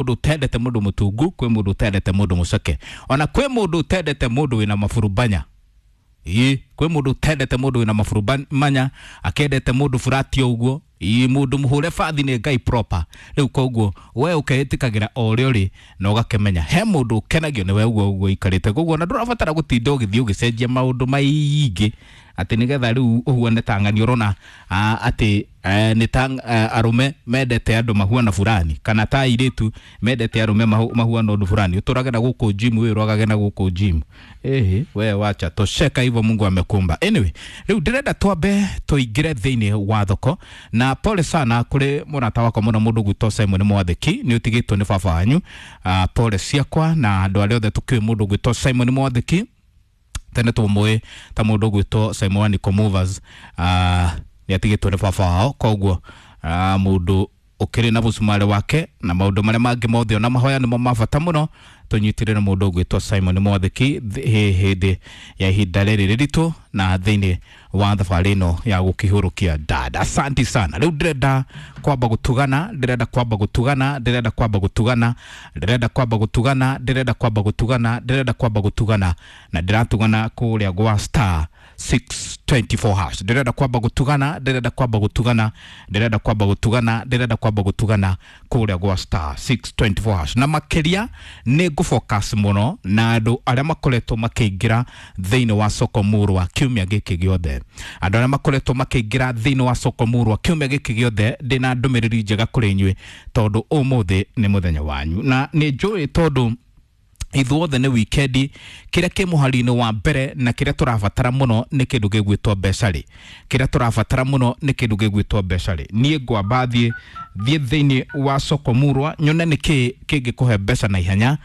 Mundu utendete mundu mutungu, kwi mundu utendete mundu muceke, ona kwi mundu utendete mundu wina maburubanya. Ii, kwi mundu utendete mundu wina maburubanya, akendete mundu furati uguo. Ii, mundu muhure bathi ni Ngai proper. Riu koguo we ukeitikagira o uria uri na ugakimenya he mundu ukenagio ni we uguo uguo ikarite. Koguo na ndurabatara gutinda ugithii ugicenjia maundu maingi ati nigetha riu uhuane ta ng'ani. Urona ati ni ta arume mendete andu mahuana fulani, kana ta airitu mendete arume mahuana undu fulani. Uturage na guku gym, we urogage na guku gym. Ehe, we wacha tosheka hivyo, Mungu amekumba. Anyway, riu ndirenda twambe tuingire thiini wa thoko. Na pole sana kuri murata wakwa muno, mundu gwitwo Simon Mwathiki, ni utigitwo ni baba wanyu. Pole ciakwa na andu aria othe tukiui mundu gwitwo Simon Mwathiki. Tene tumui ta mundu gwitwo Simon Nico Movers, ni atigitwo ni baba wao. Koguo mundu ukiri na bucumari wake na maundu maria mangi mothe, ona mahoya nimo ma bata muno. Tunyitirire mundu ugwitwo Simon Mwathiki hindi ya ihinda riri riritu na thiini wa thabarĩ ĩno ya gũkĩhũrũkia dada. Asante sana. Rĩu ndĩrenda kwamba gũtugana, ndĩrenda kwamba gũtugana, ndĩrenda kwamba gũtugana, ndĩrenda kwamba gũtugana, ndĩrenda kwamba gũtugana, ndĩrenda kwamba gũtugana, na ndĩratugana kũrĩa gwa star 624 hash. Ndĩrenda kwamba gũtugana, ndĩrenda kwamba gũtugana, ndĩrenda kwamba gũtugana, ndĩrenda kwamba gũtugana kũrĩa gwa star 624 hash. Na makĩria nĩ ngũfocus mũno na andũ arĩa makoretwo makĩingĩra thĩinĩ wa soko murwa kiumia gĩkĩ gĩothe. Andũ arĩa makoretwo makĩingĩra thĩinĩ wa soko murwa kiumia gĩkĩ gĩothe, ndĩna ndũmĩrĩri njega kũrĩ inyuĩ, tondũ ũmũthĩ nĩ mũthenya wanyu. Na nĩ njũĩ tondũ ithuothe nĩ wikendi, kĩrĩa kĩ mũhari-inĩ wa mbere na kĩrĩa tũrabatara mũno nĩ kĩndũ gĩgwĩtwo mbeca rĩ. Kĩrĩa tũrabatara mũno nĩ kĩndũ gĩgwĩtwo mbeca rĩ. Niĩ ngwamba thiĩ thĩinĩ wa soko murwa, nyone nĩ kĩ kĩngĩkũhe mbeca na ihenya,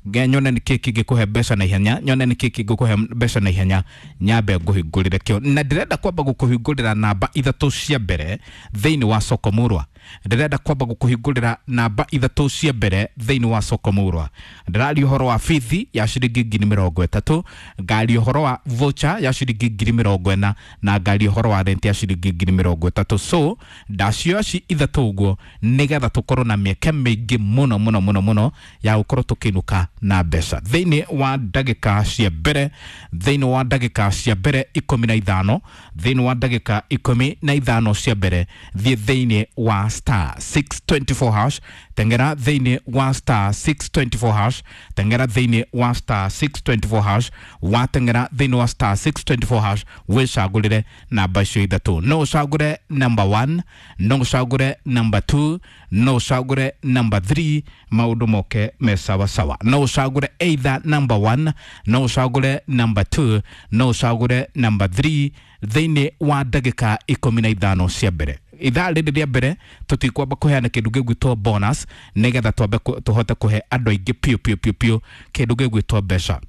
nyone nĩ kĩ kĩngĩkũhe mbeca na ihenya, nyone nĩ kĩ kĩngĩkũhe mbeca na ihenya, nyambe ngũhingũrĩre kĩo. Na ndĩrenda kwamba gũkũhingũrĩra namba ithatũ cia mbere thĩinĩ wa soko murwa. Ndĩrenda kwamba gũkũhingũrĩra namba ithatũ cia mbere thĩinĩ wa soko murwa. Ndĩraria ũhoro wa bithi ya ciringi 30,000, ngaria ũhoro wa voucher ya ciringi 40,000, na ngaria ũhoro wa rent ya ciringi 30,000. So ndacioya ci ithatũ ũguo nĩgetha tũkorwo na mĩeke mĩingĩ mũno mũno mũno mũno ya gũkorwo tũkĩinũka na mbeca thĩinĩ wa ndagĩka cia mbere, thĩinĩ wa ndagĩka cia mbere 15, thĩinĩ wa ndagĩka 15 cia mbere. Thiĩ thĩinĩ wa star 624 hash, tengera thĩinĩ wa star 624 hash, tengera thĩinĩ wa star 624 hash. Watengera thĩinĩ wa star 624 hash, wĩcagũrĩre namba icio ithatũ. No ũcagũre number 1, no ũcagũre number 2, no ũcagũre number 3, maũndũ moke me sawa sawa. No ũcagũre either number 1, no ũcagũre number 2, no ũcagũre number 3 thĩinĩ wa ndagĩka 15 cia mbere. Ithaa rĩrĩ rĩa mbere tũtikwamba kũheana kĩndũ gĩgwĩtwo bonus, nĩgetha twambe tũhote kũhe andũ aingĩ piũ piũ piũ piũ kĩndũ gĩgwĩtwo mbeca.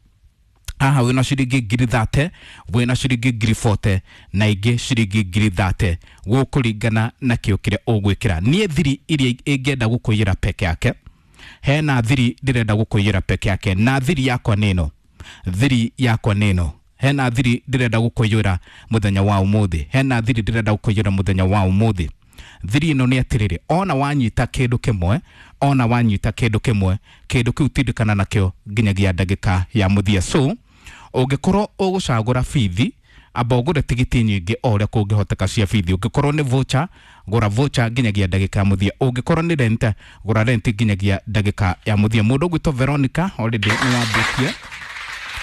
Haha wĩna ciringi 30,000, wĩna ciringi 40,000, na ingĩ ciringi 30,000, gũkũringana na kĩo kĩrĩa ũgwĩkĩra. Niĩ thiri iria ingĩenda gũkũiyĩra peke yake, hena thiri ndĩrenda gũkũiyĩra peke yake, na thiri yakwa nĩ ĩno. Thiri yakwa nĩ ĩno. Hena thiri ndĩrenda gũkũiyũra mũthenya wa ũmũthĩ. Hena thiri ndĩrenda gũkũiyũra mũthenya wa ũmũthĩ. Thiri ĩno nĩ atĩrĩrĩ, ona wanyita kĩndũ kĩmwe, ona wanyita kĩndũ kĩmwe, kĩndũ kĩu tindĩkana nakĩo nginyagia ndagĩka ya mũthia. So ũngĩkorwo ũgũcagũra bithi, amba ũgũre tigiti nyingĩ o ũrĩa kũngĩhoteka cia bithi. Ũngĩkorwo nĩ voucher, gũra voucher nginyagia ndagĩka ya mũthia. Ũngĩkorwo nĩ rent, gũra rent nginyagia ndagĩka ya mũthia. Mũndũ ũgwĩtwo Veronica already nĩ wambĩtie.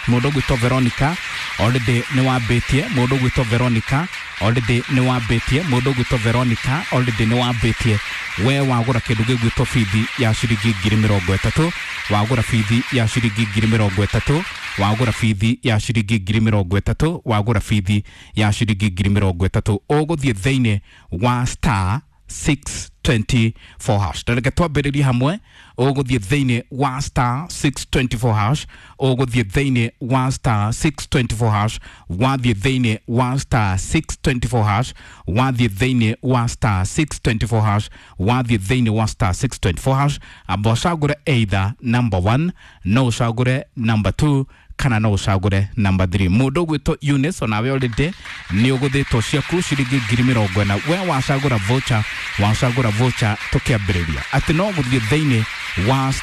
Mũndũ ũgwĩtwo Veronica already nĩ wambĩtie. Mũndũ ũgwĩtwo Veronica already nĩ wambĩtie. Mũndũ ũgwĩtwo Veronica already nĩ wambĩtie. We wagũra kĩndũ gĩgwĩtwo bithi ya ciringi 30,000, wagũra bithi ya ciringi 30,000, wagũra bithi ya ciringi 30,000, wagũra bithi ya ciringi 30,000, ũgũthiĩ thĩinĩ wa star 624 hash. Reke twambĩrĩrie hamwe. Ũgũthiĩ thĩinĩ wa star 624 hash, ũgũthiĩ thĩinĩ wa star 624 hash, wathiĩ thĩinĩ wa star 624 hash, wathiĩ thĩinĩ wa star 624 hash, wathiĩ thĩinĩ wa star 624 hash, amba ũcagũre either number 1, no ũcagũre number 2. Kana no ũcagũre number 3. Mũndũ ũgwĩtwo Eunice, onawe already nĩ ũgũthĩtwo ciaku ciringi 40,000. We wacagũra voucher, wacagũra voucher, tũkĩambĩrĩria atĩ no gũthiĩ thĩinĩ wa